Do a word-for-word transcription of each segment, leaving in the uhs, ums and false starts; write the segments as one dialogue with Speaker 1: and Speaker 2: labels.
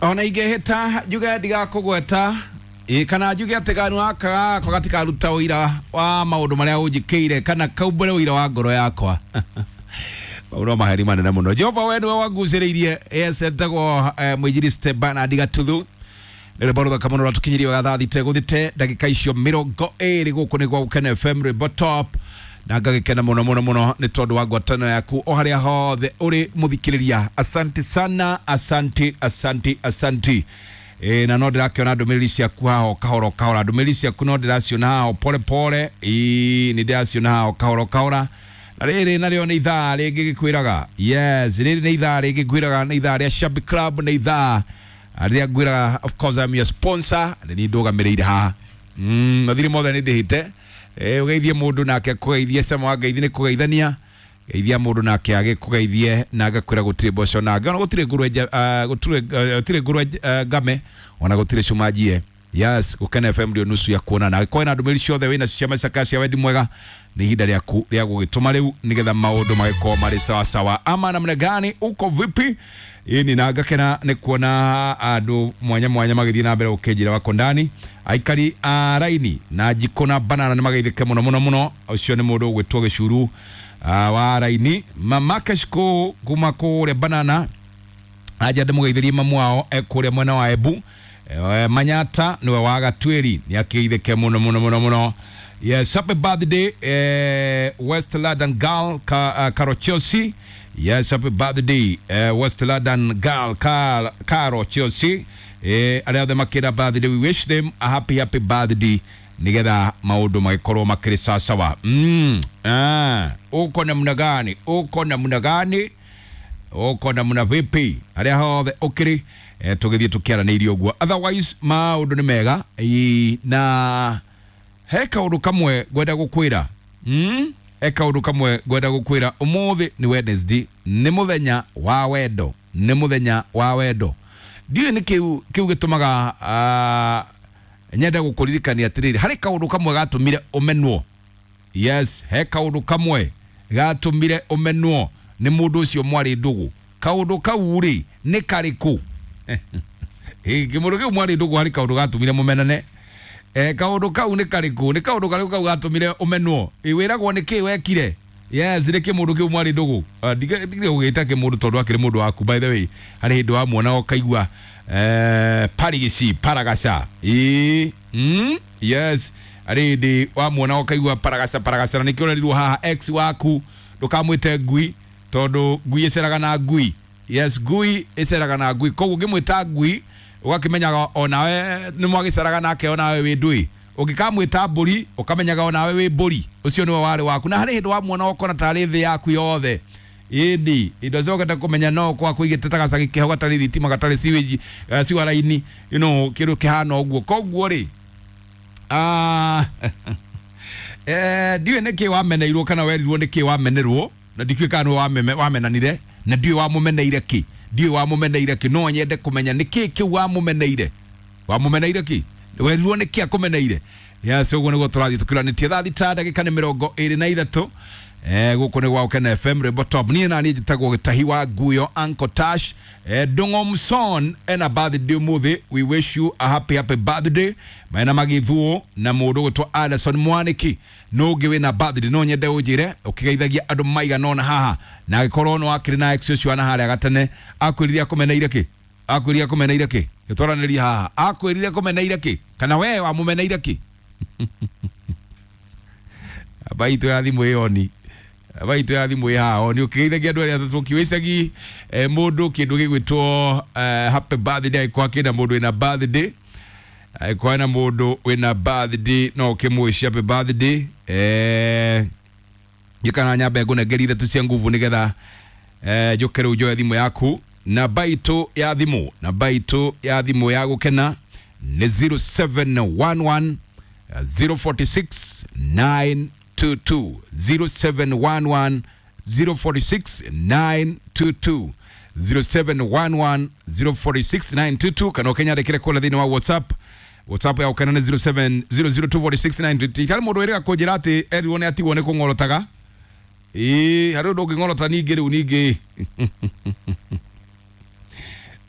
Speaker 1: Ona ingĩhĩta njuge ndigakũgweta ĩ kana njuge atĩ kanua gaka gakwa gatikaruta ũira wa maũndũ marĩa ũnjĩkĩire kana kaumbũre ũira wa ngoro yakwa. Maũndũ no maheri manene mũno. Jehova we nĩwe wangucĩrĩirie. Yes, etagwo eh, mwinjilisti Bernard Gatuthu. Nĩ rwĩmbo rũthaka mũno rwatũkinyirie wega thaa thita gũthite ndagĩka icio mĩrongo ĩrĩ gũkũ nĩ gwa Gũkena F M rwĩmbo top, na ngagĩkena mũno mũno mũno nĩ tondũ wa ngwatanĩro yaku o harĩa hothe ũrĩ mũthikĩrĩria. Asante sana, asante, asante, asante. E, na no ndĩrakĩona ndũmĩrĩri ciaku haha o kahora o kahora, ndũmĩrĩri ciaku no ndĩraciona haha o pole pole. Ĩĩ, nĩ ndĩraciona haha o kahora o kahora. Na rĩrĩ narĩo nĩ ithaa rĩngĩ gĩkwĩraga, yes, rĩrĩ nĩ ithaa rĩngĩ ngwĩraga, nĩ ithaa rĩa Shabby Club, nĩ ithaa rĩrĩa ngwĩraga, of course I'm your sponsor, nĩ niĩ ndũgamĩrĩire haha. Mm, mathirĩ mothe nĩ ndĩhĩte. Eh, ũgeithie mũndũ nake akũgeithie, cama wa ngeithi nĩ kũgeithania, geithia mũndũ nake agĩkũgeithie na agakwĩra gũtirĩ mboco nange, ona gũtirĩ ngũrwe nja- ah, gũtirĩ eh, gũtirĩ ngũrwe eh, ngame, ona gũtirĩ cuma njie. Yes, Gũkena F M ndio nusu ya kuonana. Angĩkorwo wĩna ndũmĩrĩri ciothe wĩna cia macaka cia wendi mwega, nĩ ihinda rĩaku rĩa gũgĩtũma rĩu nĩgetha maũndũ magĩkorwo marĩ sawasawa. Ama namna gani, uko vipi? Ĩni na ngakena nĩ kuona andũ mwanya mwanya magĩthiĩ na mbere gũkĩnjĩra wako ndani. Aikari a raini na njikũ na banana nĩ mageithĩke mũno mũno mũno. Ũcio nĩ mũndũ ũgwĩtwo Gĩcuru ah, wa raini. Mama Keshko kuma kũrĩa banana aja ndĩmũgeithĩrie mamu wao e kũrĩa mwena wa Embu. Eh, Manyata niwe wa Gatwĩri nĩ akĩgeithĩke mũno mũno mũno mũno. Yes, happy birthday eh, West London girl ka, uh, Caro Chelsea. Yes, happy birthday eh, West London girl Car, Caro Chelsea. Eh, arĩa othe makĩra birthday, we wish them a happy happy birthday nigetha maũndũ magĩkorwo makĩrĩ sawasawa. Mm, ah, uko namna gani? Uko namna gani? Uko namna vipi? Arĩa hothe ũkĩrĩ eh, tũgĩthiĩ tũkĩaranĩirie ũguo. Otherwise maũndũ nĩ mega. Ĩ, na he kaũndũ kamwe ngwenda gũkwĩra. Mm? He kaũndũ kamwe ngwenda gũkwĩra. Ũmũthĩ nĩ Wednesday, nĩ mũthenya wa wendo, nĩ mũthenya wa wendo. Ndiũĩ nĩ kĩu kĩu gĩtũmaga ah, nyende gũkũririkania atĩrĩrĩ, harĩ kaũndũ kamwe gatũmire ũmenwo. Yes, he kaũndũ kamwe gatũmire ũmenwo nĩ mũndũ ũcio mwarĩ ndũgũ. Kaũndũ kau rĩ nĩ karĩkũ? Ĩ, kĩmũndũ kĩu mwarĩ ndũgũ harĩ kaũndũ gatũmire mũmenane. Eh, kaũndũ kau nĩ karĩkũ? Nĩ kaũndũ karĩkũ kau gatũmire ũmenwo? Ĩ, wĩragwo nĩ kĩ wekire? Yes, nĩ kĩmũndũ kĩu mwarĩ ndũgũ. Ah, ndige ndige gũgĩta kĩmũndũ tondũ akĩrĩ mũndũ waku, by the way. Harĩ hĩndĩ wamuona ũkaigua eh, parigici paragaca. Ĩ, mm, yes, harĩ hĩndĩ wamuona ũkaigua paragaca paragaca, na nĩkĩo ũrerirwo haha ex waku ndũkamwĩte ngui tondũ ngui ĩceraga na ngui. Yes, ngui ĩceraga na ngui, koguo ũngĩmwĩta ngui ũgakĩmenyaga onawe nĩ mwagĩceraga nake onawe wĩ ndũĩ. Ũngĩkamwĩta mbũri ũkamenyaga onawe wĩ mbũri, ũcio nĩwe warĩ waku. Na harĩ hĩndĩ wamuona ũkona tarĩ thĩ yaku yothe. Ĩni indo ciokete kũmenya no kwa kũigĩte ta gacagi kĩho gatarĩ thitima gatarĩ sewage, eh, sewer line, you know, kĩndũ kĩhana ũguo. Koguo rĩ, ah, eh, ndiũĩ nĩkĩ wameneirwo kana werirwo nĩkĩ wamenerwo, na ndikĩũĩ kana nĩwe wameme-, wamenanire, na ndiũĩ wamũmeneire kĩ, ndiũĩ wamũmeneire kĩ. No nyende kũmenya nĩkĩ kĩu wamũmeneire, wamũmeneire kĩ, werirwo nĩkĩ akũmeneire. Yes, ũguo nĩguo tũrathiĩ tũkĩranĩtie. Thaa thita ndagĩka nĩ mĩrongo ĩrĩ na ithatũ. Eh, gũkũ nĩ gwa Gũkena F M rwĩmbo top. Niĩ na niĩ njĩtagwo Gĩtahi wa Nguyo Uncle Tash. Eh, Ndung'o Mson ena birthday ũmũthĩ, we wish you a happy happy birthday. Mena magĩthuo na mũndũ ũgwĩtwo Anderson Mwaniki. No ũngĩ wĩna birthday no nyende ũnjĩre ũkĩgeithagia andũ maigana ũna haha, na angĩkorwo nĩ wakĩrĩ na ex ũcio wana harĩa gatene, akwĩrire akũmeneire kĩ? Akwĩrire akũmeneire kĩ? Gĩtwaranĩrie haha. Akwĩrire akũmeneire kĩ? Kana we wamũmeneire kĩ? Aba itũ ya thimũ ĩyo ni. Aba itũ ya thimũ ĩ haha oni ũkĩgeithagia andũ arĩa atatũ ũkiũicagi, eh, mũndũ kĩndũ gĩgwĩtwo, eh, happy birthday, angĩkorwo akĩna mũndũ wĩna birthday, angĩkorwo hena mũndũ wĩna birthday no ũkĩmũwish happy birthday. Eh, njĩkana nyambe ngũnengerie ithatũ cia nguvu nĩgetha, eh, njũke rĩu njoe thimũ yaku. Namba itũ ya thimũ, namba itũ ya thimũ ya Gũkena nĩ zero seven one one zero forty six nine two two, zero seven one one zero forty six nine two two, zero seven one one zero forty six nine two two. Kana ũkĩnyandĩkĩre kũrĩa thĩinĩ wa WhatsApp. WhatsApp ya Gũkena nĩ zero seven zero zero two forty six nine two two. Harĩ mũndũ wĩrĩga kũnjĩra atĩ erirwo nĩ atigwo nĩ kũng'orotaga. Ĩĩ, harĩ ũndũ ũngĩng'orota ningĩ rĩu ningĩ.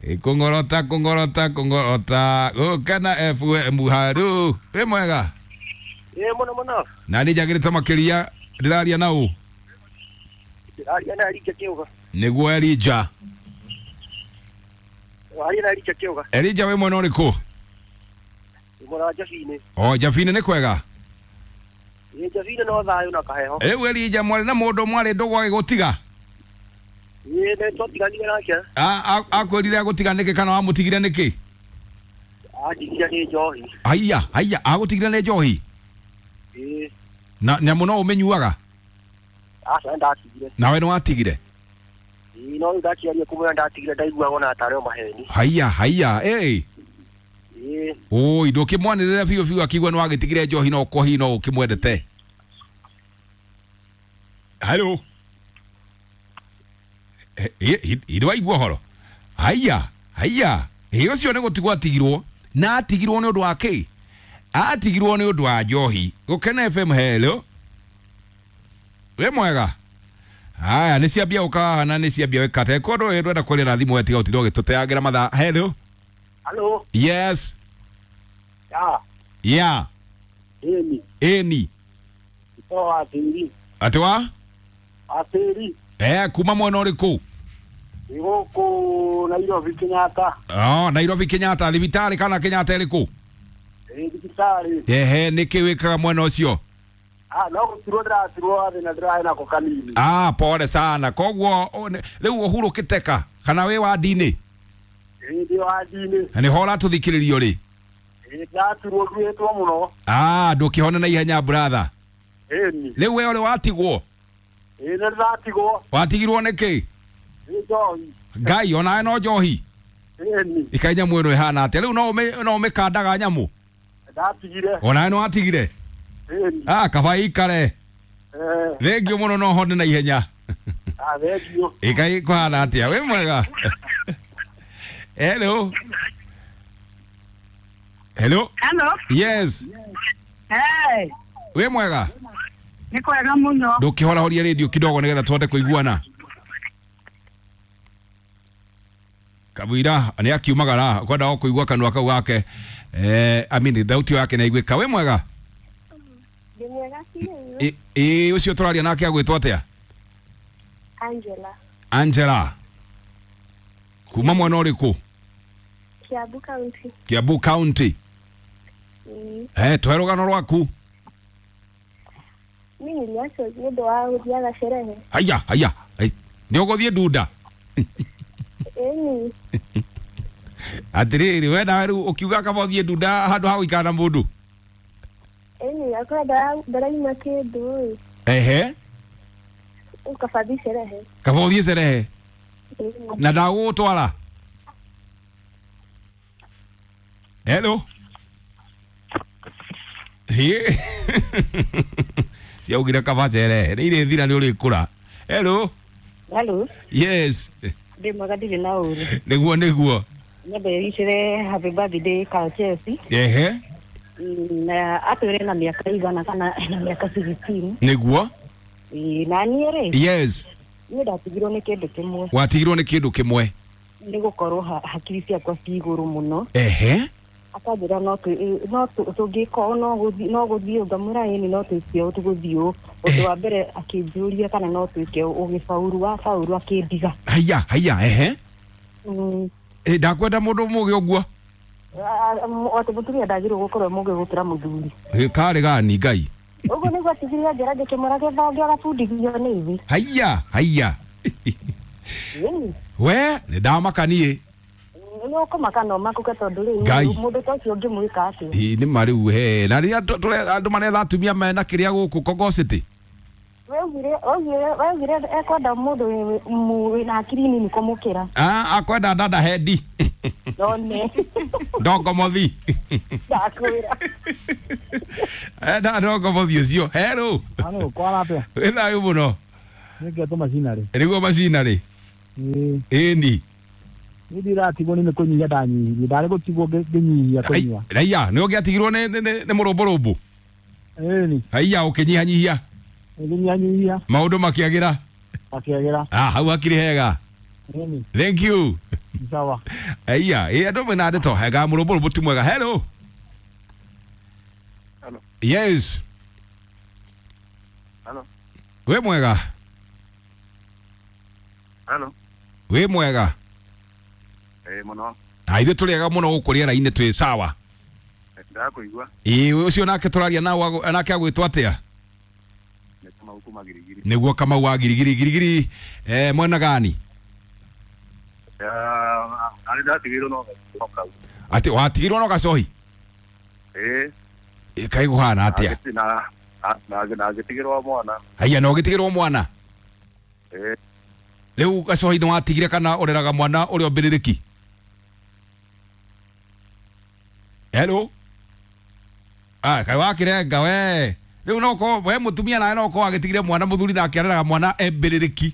Speaker 1: Kungorota kungorota kungorota gukena F M haru wi mwega
Speaker 2: ĩ mũno mũno
Speaker 1: na nĩ njagĩrĩte makĩria ndĩraria na ũ
Speaker 2: ndĩraria na Elija Kĩũga
Speaker 1: nĩguo Elija
Speaker 2: waria na Elija Kĩũga
Speaker 1: Elija wĩ mwena ũrĩkũ
Speaker 2: mwena wa Jabinĩ
Speaker 1: o Jabinĩ nĩ kwega
Speaker 2: ĩ Jabinĩ no thayũ na kaheho
Speaker 1: rĩu Elija mwarĩ na mũndũ mwarĩ ndũgũ agĩgũtiga
Speaker 2: ĩ nĩ twatiganire nake
Speaker 1: akwĩrire agũtiga nĩkĩ kana wamũtigire nĩkĩ
Speaker 2: andigire nĩ njohi
Speaker 1: haiya haiya agũtigire nĩ njohi
Speaker 2: ĩ
Speaker 1: na nyamũ no ũmĩnyuaga
Speaker 2: aca nĩ ndatigire
Speaker 1: nawe nĩ watigire
Speaker 2: ĩ no rĩu ndakiaria kũmwĩra ndatigire ndaiguaga ona tarĩ o maheni
Speaker 1: haiya haiya ĩ
Speaker 2: ĩ
Speaker 1: oi ndũkĩmwanĩrĩra biũ biũ akiigua nĩ wagĩtigire njohi no ũkorwo hihi no ũkĩmwendete hello ĩ waigua ũhoro haiya haiya ĩ ũcio nĩ gũtigwo atigirwo na atigirwo nĩ ũndũ wa kĩ atigirwo nĩ ũndũ wa njohi Gũkena F M hello wĩ mwega haya nĩ ciambia gũka haha na nĩ ciambia wĩkate kũndũ ĩ ndwenda kwaria na thimũ wetiga ũtinde ũgĩtũteangĩra mathaa hello
Speaker 2: halo
Speaker 1: yes
Speaker 2: ya
Speaker 1: yeah
Speaker 2: ĩni
Speaker 1: ĩni
Speaker 2: ito wa tĩri
Speaker 1: atĩ wa
Speaker 2: wa tĩri
Speaker 1: eh kuma mwena ũrĩkũ
Speaker 2: ĩ gũkũ Nairobi Kenyatta
Speaker 1: oh Nairobi Kenyatta thibitarĩ kana Kenyatta ĩrĩkũ
Speaker 2: ĩ thibitarĩ
Speaker 1: ehe nĩkĩ wĩkaga mwena ũcio
Speaker 2: ah no gũtirwo ndĩratirwo gathĩna ndĩrarĩ nako kanini
Speaker 1: ah pole sana koguo rĩu ũhurũkĩte ka kana wĩ wandi-inĩ
Speaker 2: ĩ ndĩ wandi-inĩ
Speaker 1: na nĩho ũratũthikĩrĩrio rĩ
Speaker 2: ĩ ndĩraturwo nduĩtwo mũno
Speaker 1: ah ndũkĩhone na ihenya brother
Speaker 2: ĩni
Speaker 1: rĩu we ũrĩ watigwo
Speaker 2: ĩ nĩ ndĩratigwo
Speaker 1: watigirwo nĩkĩ
Speaker 2: nĩ njohi
Speaker 1: ngai onawe no njohi
Speaker 2: ĩni
Speaker 1: ikai nyamũ ĩno ĩhana atĩa rĩu no ũmĩ- no ũmĩkandaga nyamũ
Speaker 2: ndatigire
Speaker 1: onawe nĩ watigire
Speaker 2: ĩni
Speaker 1: ah kaba ikare
Speaker 2: eh
Speaker 1: thengio mũno no hone na ihenya
Speaker 2: ah thengio
Speaker 1: ikai kũhana atĩa wĩ mwega hello hello
Speaker 3: Hello.
Speaker 1: yes
Speaker 3: Hey,
Speaker 1: wĩ mwega
Speaker 3: nĩ kwega mũno.
Speaker 1: ndũkĩhorahoria radio kidogo nĩgetha tũhote kũiguana Kabwira nĩ akiumagara kwenda o kũigua kanua kau gake eh I mean thauti yake nĩ aiguĩka wĩ mwega
Speaker 4: Ndĩ mwega biũ.
Speaker 1: ĩ ĩ, ũcio tũraria nake agwĩtwo atĩa
Speaker 4: Angela,
Speaker 1: Angela kuma mwena ũrĩkũ
Speaker 4: Kiambu County.
Speaker 1: Kiambu County
Speaker 4: Mm.
Speaker 1: eh tũhe rũgano rwaku
Speaker 4: Mi niliachwa nĩ ũndũ wa gũthiaga sherehe.
Speaker 1: haya haya nĩ ũgũthiĩ ndunda
Speaker 4: Ĩni,
Speaker 1: atĩrĩrĩ we nawe rĩu ũkiuga kaba ũthiĩ ndunda handũ ha gũikara na mũndũ
Speaker 4: ĩni akorwo ndara- ndaraima kĩndũ ĩ,
Speaker 1: ehe
Speaker 4: ũkaba thiĩ sherehe.
Speaker 1: kaba ũthiĩ cerehe
Speaker 4: Ĩni.
Speaker 1: na ndagũgũtwara hello Hĩ. Ciaugire kaba cerehe nĩ irĩthira nĩ ũrĩkũra hello
Speaker 3: Hello.
Speaker 1: yes
Speaker 3: Ndĩ mwega ndirĩ na ũru.
Speaker 1: nĩguo nĩguo
Speaker 3: Nyambe wicire happy birthday ka Chelsea.
Speaker 1: ehe
Speaker 3: Mm, Na atwĩre na mĩaka igana kana na mĩaka sixteen.
Speaker 1: nĩguo
Speaker 3: Ĩ, na niĩ rĩ,
Speaker 1: yes
Speaker 3: niĩ ndatigirwo nĩ kĩndũ kĩmwe
Speaker 1: watigirwo nĩ kĩndũ kĩmwe
Speaker 3: nĩ gũkorwo ha- hakiri ciakwa ci igũrũ mũno.
Speaker 1: ehe
Speaker 3: Akanjĩra no twĩ- no tũ- tũngĩka ũũ no gũthiĩ no gũthiĩ ũũ ngamwĩra ĩni no twĩke ũũ tũgũthiĩ ũũ. Ũndũ wa mbere akĩnjũria kana no twĩke ũũ ũgĩbauru wabauru akĩndiga.
Speaker 1: haya haya ehe
Speaker 3: Mm.
Speaker 1: Ĩ, ndakwenda mũndũ mũgĩ ũguo
Speaker 3: Atĩ mũtumia ndagĩrĩirwo gũkorwo e mũgĩ gũkĩra mũthuri.
Speaker 1: Ĩ, karĩ gani ngai
Speaker 3: Ũguo nĩguo atigire anjĩra ngĩkĩmwĩra gĩthonge agabundithio nĩ ithe.
Speaker 1: haya haya
Speaker 3: Ĩni.
Speaker 1: we nĩ ndamaka niĩ
Speaker 3: Nĩ ũkũmaka no makũke tondũ rĩu
Speaker 1: Ngai.
Speaker 3: mũndũ ta ũcio ũngĩmwĩka atĩa?
Speaker 1: Ĩ, nĩ ma rĩu he na rĩrĩa tũ- tũre- andũ maretha atumia mena kĩrĩa gũkũ Kongo City
Speaker 3: Waugire waugire waugire ekwenda mũndũ wĩ- wĩ- wĩna hakiri nini kũmũkĩra.
Speaker 1: Ah, akwenda dada hendi
Speaker 3: None.
Speaker 1: ndongomothi
Speaker 3: Ndakwĩra.
Speaker 1: enda ndongomothi ũcio herũ
Speaker 5: Ano, kwara atĩa?
Speaker 1: wĩ thayũ mũno
Speaker 5: Nĩngetwo macinarĩ.
Speaker 1: nĩguo macinarĩ
Speaker 5: Ĩĩ,
Speaker 1: ĩni
Speaker 5: niĩ ndiratigwo nĩ kũnyihia ndanyihirie, ndarĩ gũtigwo ngĩ- ngĩnyihia kũnyua.
Speaker 1: raiya nĩ ũngĩatigirwo nĩ nĩ- nĩ- nĩ mũrũmbũrũmbũ
Speaker 5: Ĩni,
Speaker 1: haiya ũkĩnyihanyihia
Speaker 5: ngĩnyihanyihia
Speaker 1: maũndũ makĩagĩra
Speaker 5: makĩagĩra.
Speaker 1: ah, hau hakĩrĩ hega
Speaker 5: Ĩni.
Speaker 1: thank you
Speaker 5: Sawa.
Speaker 1: Aya, ĩ andũ mena ndeto hega mũrũmbũrũmbũ ti mwega. Hello.
Speaker 2: Hello.
Speaker 1: Yes.
Speaker 2: Hello.
Speaker 1: Wĩ mwega.
Speaker 2: Hello.
Speaker 1: Wĩ mwega.
Speaker 2: Eh muno.
Speaker 1: Na ithuĩ tũrĩ ega mũno gũkũ rĩera-inĩ twĩ sawa.
Speaker 2: Ndakuigua.
Speaker 1: Ĩ ũcio nake tũraria na nake agwĩtwo atĩa?
Speaker 2: Nĩ Kamau kuma Girigiri.
Speaker 1: Nĩguo Kamau wa Girigiri. Girigiri eh mwena gani?
Speaker 2: Ah, ari ndatigirwo no kau.
Speaker 1: Atĩ watigirwo no gacohi?
Speaker 2: Eh.
Speaker 1: Ĩ kaĩ kũhana atĩa?
Speaker 2: Na na na ngĩtigĩrwo mwana.
Speaker 1: Haiya no ũgĩtigĩrwo mwana?
Speaker 2: Eh.
Speaker 1: Rĩu gacohi nĩ watigire kana ũreraga mwana ũrĩa ũmbĩrĩrĩki? Hello. Ah, kaĩ wakĩrenga we. Rĩu no ko we mũtumia nawe no ko agĩtigire mwana mũthuri nake areraga mwana embĩrĩrĩki.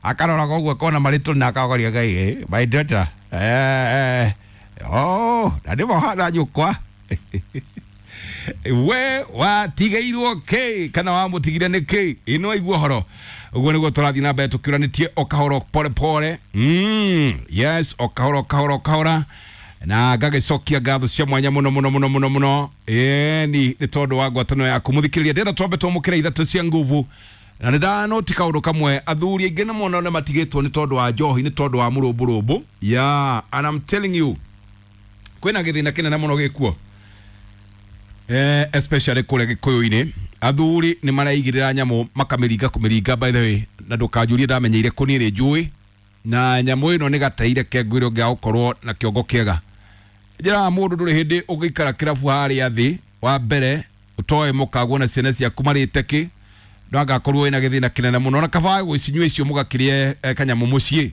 Speaker 1: Akarora koguo akona marĩtũ na akagoria Ngai eh my daughter eh eh oh na nĩ mohana nyũkwa. We watigĩirwo kĩ kana wamũtigire nĩ kĩ? Ĩno aigua ũhoro ũguo nĩguo tũrathiĩ na mbere tũkĩũranĩtie o kahora pole pole. Mm, yes, o kahora o kahora o kahora na ngagĩcokia ngatho cia mwanya mũno mũno mũno mũno mũno ĩni nĩ tondũ wa ngwatanĩro yaku mũthikĩrĩria. Ndĩrenda twambe twamũkĩre ithatũ cia nguvu na nĩ ndanoti kaũndũ kamwe athuri aingĩ nĩ mona nĩ matigĩtwo nĩ tondũ wa njohi nĩ tondũ wa mũrũmbũrũmbũ. Yeah, and I'm telling you kwĩna gĩthĩna kĩnene mũno gĩkuo eh especially kũrĩa Gĩkũyũ-inĩ athuri nĩ maraigĩrĩra nyamũ makamĩringa kũmĩringa. By the way, na ndũkanjũrie ndamenyeire kũ niĩ nĩ njũĩ na nyamũ ĩno nĩ gateire kengwĩrwo gĩa gũkorwo na kĩongo kĩega. Njĩraga mũndũ ndũrĩ hĩndĩ ũngĩikara kĩrabu harĩa thĩ wa mbere ũtoe mũkagwo na ciana ciaku marĩte kĩ no angakorwo wĩna gĩthĩna kĩnene mũno na kaba gwĩcinyua icio mũgakĩrĩe kanyamũ mũciĩ.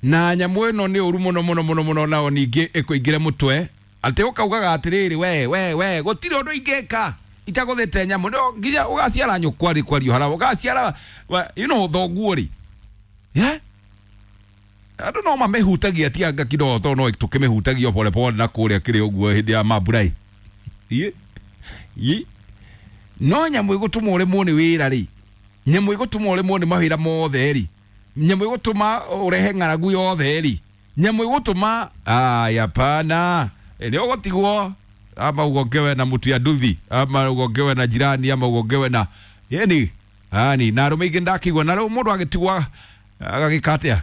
Speaker 1: Na nyamũ ĩno nĩ ũru mũno mũno mũno mũno nao ningĩ ĩkũingĩre mũtwe atĩ ũkaugaga atĩrĩrĩ we we we gũtirĩ ũndũ ingĩka itagũthĩte nyamũ no nginya ũgaciara nyũkwa rĩ kwario hara ũgaciara you know thoguo rĩ yeah andũ no mamĩhutagia ti anga kidogo tondũ no tũkĩmĩhutagia pole pole na kũrĩa kĩrĩ ũguo hĩndĩ ya mambura ĩ no nyamũ ĩgũtũma ũremwo nĩ wĩra rĩ, nyamũ ĩgũtũma ũremwo nĩ mawĩra mothe rĩ, nyamũ ĩgũtũma ũrehe ng'aragu yothe rĩ, nyamũ ĩgũtũma aya pana nĩ ũgũtigwo ama ugongewe na mũtu ya nduthi ama ugongewe na jirani ama ugongewe na yani ani na arũme aingĩ ndakĩigua na rĩu mũndũ agĩtigwa agagĩka atĩa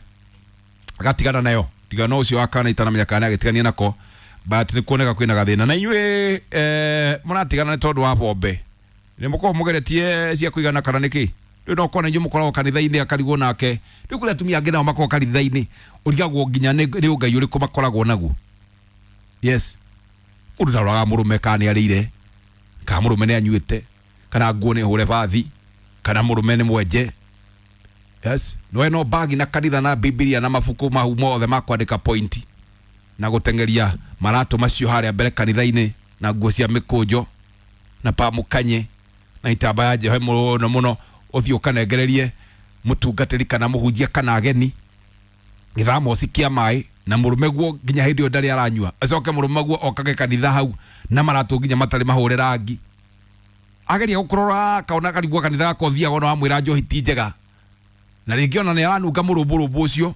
Speaker 1: agatigana nayo tigana ũcio wa kana itanamenya kana agĩtigania nako but nĩ kuoneka kwĩna gathĩna na inyuĩ eh mũratigana nĩ tondũ wa bombe nĩ mũkoragwo mũgeretie cia kũigana kana nĩkĩ? Rĩu no kona inyuĩ mũkoragwo kanitha-inĩ akarigwo nake rĩu kũrĩ atumia angĩ nao makoragwo kanitha-inĩ ũrigagwo nginya nĩ ũngai ũrĩkũ makoragwo naguo. Yes, mũndũ ndaroraga mũrũme kana nĩ arĩire kana mũrũme nĩ anyuĩte kana nguo nĩ hũre bathi kana mũrũme nĩ mwenje. Yes, no no bagi na kanitha na Biblia na mabuku mau mothe ma kwandĩka point na gũteng'eria maratũ macio harĩa mbere kanitha-inĩ na nguo cia mĩkũnjo na pamũkanye na itambaya njehe mũno mũno ũthiĩ ũkanengererie mũtungatĩri kana mũhunjia kana ageni gĩthamoci kĩa maĩ na mũrũme guo nginya hĩndĩ ĩyo ndarĩ aranyua acoke mũrũme guo okage kanitha hau na maratũ nginya matarĩ mahũre rangi ageria gũkũrora akaona karigua kanitha gaka ũthiaga ona wamwĩra njohi ti njega na rĩngĩ ona nĩ aranunga mũrũmbũrũmbũ ũcio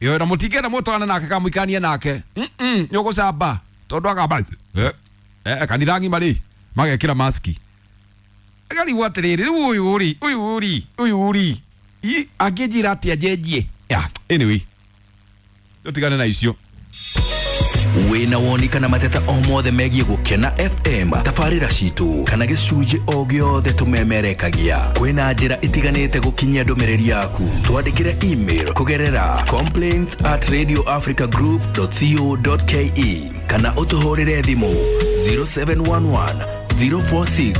Speaker 1: ĩyo na mũtingĩenda mũtwarane nake kana mũikanie nake mm nĩ ũgũcamba tondũ akamba eh kanitha ng'ima rĩ magekĩra maski agarigwo atĩrĩrĩ rĩu ũyũ rĩ ũyũ rĩ ũyũ rĩ angĩnjĩra atĩa njenjie. Yeah, anyway tũtigane na icio.
Speaker 6: Wĩna woni kana mateta o mothe megiĩ Gũkena F M tabarĩra citũ kana gĩcunjĩ o gĩothe tũmemerekagia kwĩna njĩra itiganĩte gũkinyia ndũmĩrĩri yaku twandĩkĩre email kũgerera complaints at radio africa group dot co dot ke kana ũtũhũrĩre thimũ zero seven one one zero four six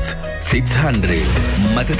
Speaker 6: six hundred mateta